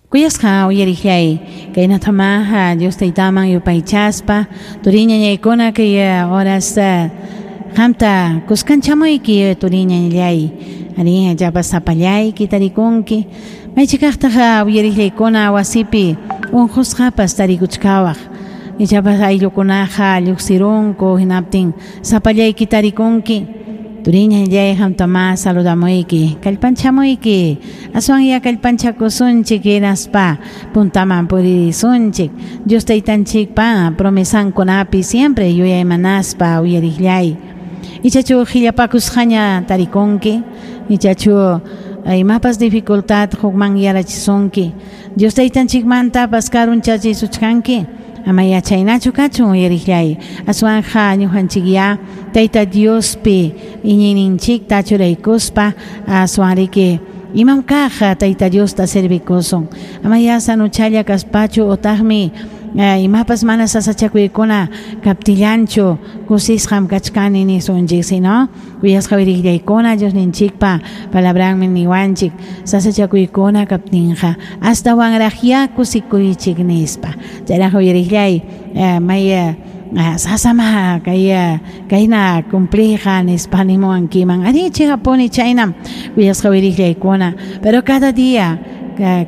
Kuyasqa uyariqllay, kaynatamá Dios Taytaman yupaychaspa, turiñañaykuna kay horas qamta kuskanchamuyki turiñañallay, arí llapas sapallayki tarikunki, maychikaqtaq uyariqllaykuna wasipi unqusqapas tarikuchkawaq, ichapas ayllukunaqa lluqsirunku hinaptin sapallayki tarikunki. Turiñallay qamtamá saludamuyki, kallpanchamuyki, aswanya kallpanchakusunchik hinaspa puntaman puririsunchik. Dios Taytanchikpa promesankunapi siempre yuyaymanaspa uyariqllay. Ichachu qillapakusqaña tarikunki, ichachu imapas dificultad hukman yarachisunki. Dios Taytanchikmantapas karunchachisuchkanki. Ama yachaynachu kachun uyariqllay. Aswanja ñuqanchikyá Tayta Diospi iñiyninchikta churaykuspa aswanriki imam kaq Tayta Diosta servikusun. Ama ya sanuchalla kaspachu utaqmi imapas mana sasachakuykuna kaptillanchu kusisqam kachkani nisunchik, sino kuyasqa uyariqllaykuna Diosninchikpa palabranmi niwanchik sasachakuykuna kaptinqa astawanraqyá kusikuychik nispa. Chayraq uyariqllay may sasama kay kayna cumpliyqa nispa nimuwankiman. Arí chiqapuni chaynam kuyasqa uyariqllaykuna, pero cada día,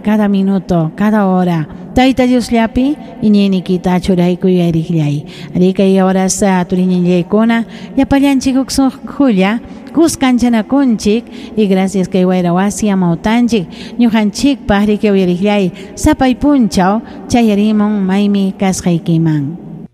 cada minuto, cada hora Tayta Diosllapi iñiyniykita churaykuy uyariqllay. Arí kay horas turiñañaykuna llapallanchik huk sunqulla kuskanchanakunchik y gracias kay wayra wasi amawtanchik ñuqanchikpaq riki uyariqllay sapay punchaw chayarimun maymi kasqaykiman.